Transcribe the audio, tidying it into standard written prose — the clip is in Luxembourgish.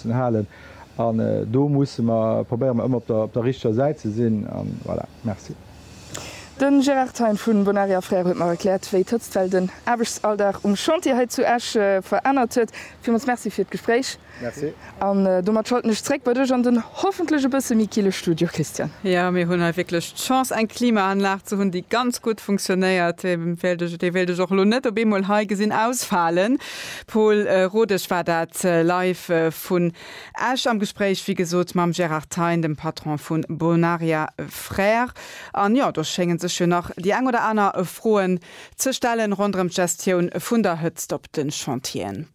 mussen halen. An do musse mer, probéiere mer ëmmer op der, op der richteger Säit ze sinn. An voilà. Merci. De Gérard Thein vu Bonaria Frères huet mer erkläert, wéi d'Hëtztwell den Aarbechtsalldag um Chantier hei zu Esch verännert huet. Villmools Merci fir d'Gespréich. Merci. An domat schalten ech zréck bei dech an den hoffentlech e bësse méi kille Studio, Christian. Jo, mir hunn hei wierklech d'Chance eng Klimaanlag ze hunn, déi ganz gutt funktionéiert. Déi wéilt ech, déi wéilt ech och elo net op eemol hei gesinn ausfalen. Paul Rodesch war dat live vun Esch am Gespréich, wéi gesot, mam Gérard Thein, dem Patron vu Bonaria Frères. An jo, do schénge sech jo nach déi eng oder aner Froen ze stellen ronderëm d'Gestioun vun der Hëtzt op de Chantieren.